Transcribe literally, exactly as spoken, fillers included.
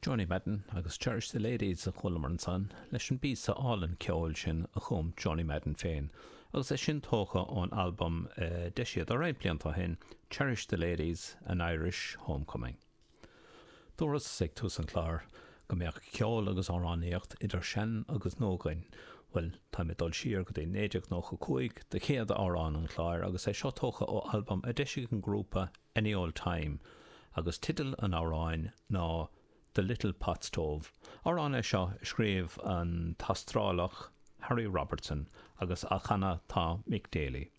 Johnny Madden agus Cherish the Ladies a chualamar ansan leis an bpíosa álainn ceoil sin a chum Johnny Madden féin, agus é sin tógtha ón albam uh, d'eisigh roinnt blianta ó shin Cherish the Ladies an Irish Homecoming. Dúras ag tús an chláir go mbeadh ceol agus amhránaíocht idir sean agus nua againn, Well tá mé dul siar go dtí naoi déag nócha cúig do chéad amhrán an chláir agus é seo tógtha ó albam a d'eisigh an grúpa Any Old Time, agus teideal an amhráin ná The Little Pot Stove. Amhrán é seo a scríobh an tAstrálach Harry Robertson agus á chanadh tá Mick Daly.